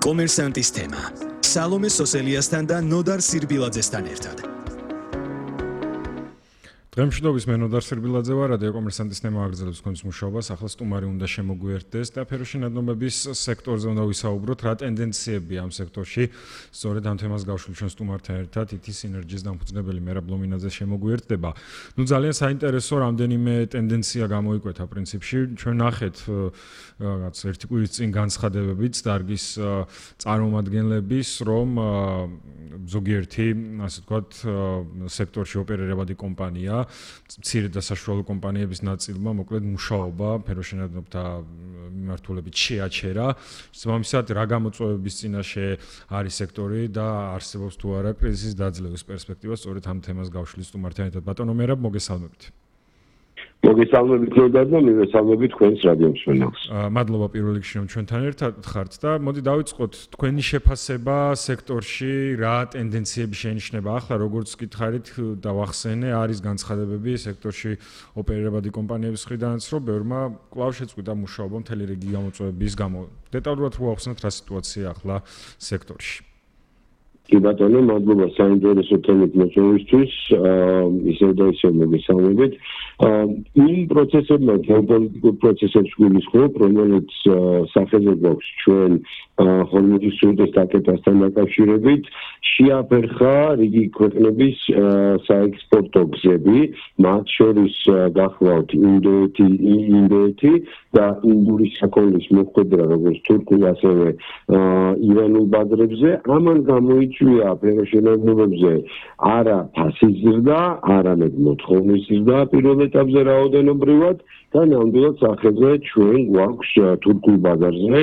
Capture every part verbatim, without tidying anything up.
კომერსანტის თემა. სალომე სოსელიასთან და ნოდარ სირბილაძესთან ერთად. დღემშვიდობის მე ნოდარ სირბილაძე ვარ, რადიო კომერსანტის თემა აგრძელებს თქვენს მუშაობას, ახლა სტუმარი უნდა შემოგვიერთდეს და ფეროშინადნობების სექტორზე უნდა ვისაუბროთ, რა ტენდენციები ამ სექტორში, სწორედ ამ თემას გავშვილ ჩვენ სტუმართან ერთად, ითი სინერგიის დამფუძნებელი მერაბ ლომინაძე შემოგვიერთდება. ნუ ძალიან საინტერესო რამდენიმე ტენდენცია გამოიკვეთა პრინციპში, ჩვენ ნახეთ რაღაც ერთი კვირის წინ განცხადებებით დარგის წარმომადგენლების, რომ ზოგიერთი, ასე ვთქვათ, სექტორში ოპერირებადი კომპანია მცირე და საშუალო კომპანიების ნაწილმა მოკლედ მუშაობა ფეროშინადნობთა მიმართულებით შეაჩერა. შესაბამისად, რა გამოწვევების წინაშე არის სექტორი და არსებობს თუ არა კრიზისის დაძლევის პერსპექტივა, სწორედ ამ თემას გავშლის სტუმართან ერთად. ბატონო მერაბ, მოგესალმებით. მოგესალმებით ნოდარ და მივესალმებით თქვენს რადიო მსმენელს. მადლობა პირველ რიგში რომ ჩვენთან ერთად ხართ და მოდი დავიწყოთ თქვენი შეფასება სექტორში, რა ტენდენციები შეინიშნება ახლა, როგორც გითხარით და ვახსენე, არის განცხადებები სექტორში ოპერირებადი კომპანიების მხრიდანაც, რომ ბევრმა კვლავ შეწყვიტა მუშაობა მთელი რიგი გამოწვევების გამო. დეტალურად რო ვახსენოთ რა სიტუაცია ახლა სექტორში. კი ბატონო, მადლობა საინტერესო თემით მოწვევისთვის, ისევ და ისევ მოგესალმებით. იმ პროცესებმა, გეოპოლიტიკურ პროცესებს გვიმისხმობ, რომელიც სახეზე გვაქვს ჩვენ ჰორმუზის სრუტეს დაკეტასთან დაკავშირებით, შეაფერხა რიგი ქვეყნების საექსპორტო გზები, მათ შორის გახლავთ ინდოეთი, ინდოეთი და ინდური საქონლის მოხვედრა, როგორც თურქულ, ასევე ირანულ ბაზრებზე. ამან გამოიწვია ფეროშინადნობებზე არა ფასის ზრდა, არამედ მოთხოვნის ზრდა პირველ ეტაპზე რაოდენობრივად და ნამდვილად სახეზე ჩვენ გვაქვს თურქულ ბაზარზე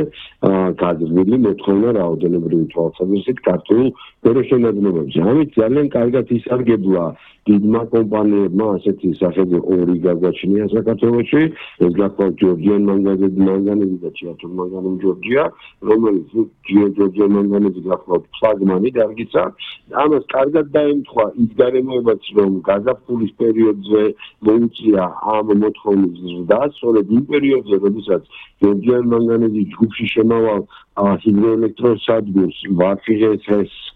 გაძლევილი მოთხოვნა რაოდენობრივი თვალსაზრისით ქართულ ფეროშინადნობებზე. ამით ძალიან კარგად ისარგებლა დიდმა კომპანიებმა ასეთი სახეზე ორი გაგვაჩნია საქართველოში, ეს გახლავთ ჯორჯიან მანგანეზი და ჭიათურ მანგანეზი ჯორჯია, რომელიც ჯორჯიან მანგანეზი გახლავთ ფლაგმანი დარგისა. ამას კარგად დაემთხვა ის გარემოებაც, რომ გაზაფხულის პერიოდზე მოუწია ამ მოთხოვნის ზრდა, სწორედ იმ პერიოდზე, როდესაც ჯორჯიან მანგანეზი ჯგუფში შემავალ ჰიდროელექტროსადგურს ვაფიღეს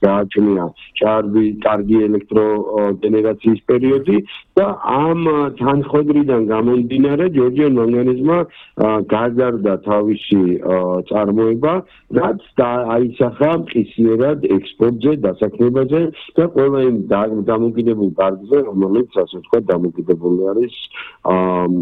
გააჩნია ჭარბი, კარგი ელექტროგენერაციის პერიოდი და ამ თანხმოედრიდან გამომდინარე ჯორჯიან მანგანეზმა გაზარდა თავისი წარმოება, რაც აისახა მყისიერად ექსპორტზე, დასაქმებაზე და ყველა იმ დამოკიდებულ დარგზე, რომელიც ასე ვთქვათ, დამოკიდებული არის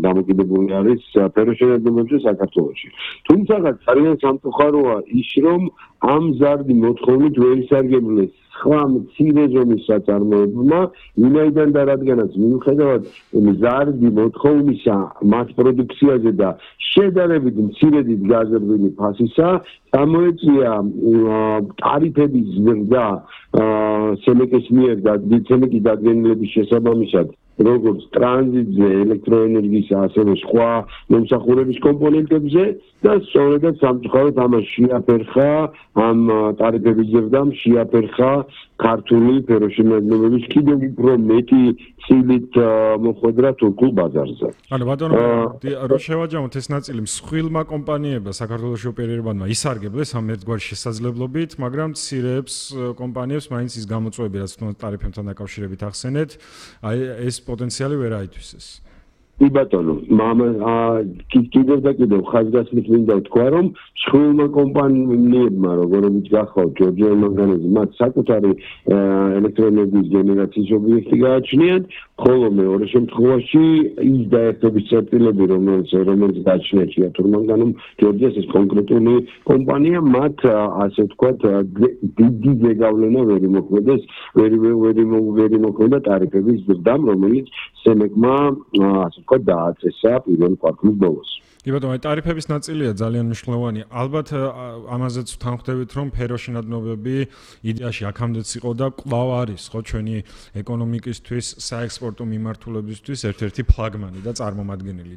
დამოკიდებული არის ფეროშინადნობებზე საქართველოში. თუმცა ძალიან სამწუხაროა ის, რომ ამ ზარდი მოთხოვნით ვერ ისარგებლეს სხვა მცირე ზომის საწარმოებმა, ვინაიდან და რადგანაც მიუხედავად ზარდი მოთხოვნისა მას პროდუქციაზე და შედარებით მცირედი გაზრდილი ფასისა, გამოიწვია ტარიფების ზრდა სემეკის მიერ და სემეკის დადგენილების შესაბამისად, როგორც ტრანზიტზე, ელექტროენერგიის, ასევე სხვა მომსახურების კომპონენტებზე და სწორედაც სამწუხაროდ ამას შეაფერხა ამ ტარიფების ზრდამ შეაფერხა ქართული ფეროშინადნობების კიდევ უფრო მეტი წილით მოხვედრა თურქულ ბაზარზე. ანუ ბატონო, რო შევაჯამოთ ეს ნაწილი მსხვილმა კომპანიებმა საქართველოში ოპერირებადმა ისარგებლეს ამ ერთგვარი შესაძლებლობით, მაგრამ მცირეებს კომპანიებს მაინც ის გამოწვევები, რაც თუნდაც ტარიფებთან დაკავშირებით ახსენეთ, აი ეს პოტენციალი ვერ აითვისეს. კი ბატონო, მამა კიდევ და კიდევ ხაზგასმით მინდა ვთქვა, რომ მსხვილმა კომპანიებმა, როგორიც გახლავთ ჯორჯიან მანგანეზი, მათ საკუთარი ელექტროენერგიის გენერაციის ობიექტი გააჩნიათ, ხოლო მეორე შემთხვევაში ის დაერთობის წერტილები, რომელიც რომელიც გააჩნია ჭიათურ მანგანუმ ჯორჯიას, ეს კონკრეტული კომპანია, მათ ასე ვთქვათ, დიდი ზეგავლენა ვერ იმოქმედეს, ვერ ვერ იმოქმედა ტარიფების ზრდამ, რომელიც სემეკმა ასე ვთქვათ დააწესა პირველ კვარტლის ბოლოს. კი ბატონო, აი ტარიფების ნაწილია ძალიან მნიშვნელოვანი. ალბათ ამაზეც ვთანხმდებით, რომ ფეროშინადნობები იდეაში აქამდეც იყო და კვლავ არის, ხო, ჩვენი ეკონომიკისთვის, საექსპორტო მიმართულებისთვის ერთ-ერთი ფლაგმანი და წარმომადგენელი.